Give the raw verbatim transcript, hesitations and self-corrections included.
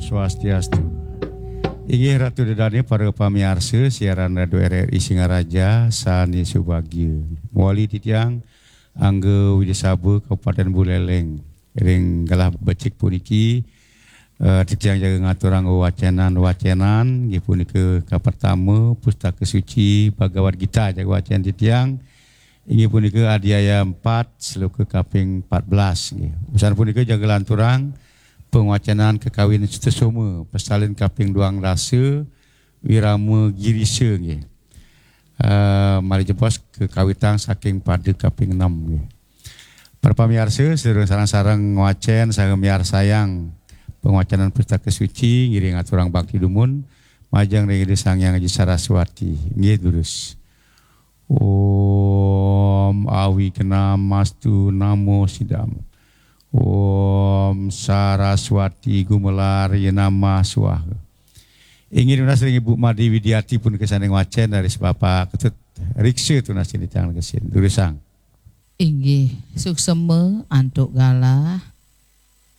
Swastiastu. Inggih Ratu Ida Dané, para pamiarsa siaran Radio R R I Singaraja sané subagia. Mawali titiang Angga Widya Saba, Kabupaten Buleleng. Ring galah becik puniki, eh, titiang jaga ngaturang wacénan-wacénan, inggih punika kapertama Pustaka Suci Bhagavad Gita, jaga wacén titiang, inggih punika Adhyaya empat, sloka kaping empat belas, nggih. Usan punika jaga lanturang pangwacénan kakawin Sutasoma, pasalin kaping duang dasa, Wirama Girisa, nggih. Eh, malih jebos kakawitang saking pada kaping enam, nggih. Para pamiarsa, sadurung sareng-sareng ngwacén saha miarsayang pangwacénan Pustaka Suci, ngiring aturang bakti dumun majeng ring Ida Sang Hyang Aji Saraswati. Nggih, durus. Om Awignamastu Namo Sidam. Om Saraswati Gumelarya Namah Swaha. Inggih tunas ring Ibu Made Widiati punika sané ngwacén, raris Bapak Ketut Riksa tunas titiang kesin. Durusang. Inggih, suksema antuk galah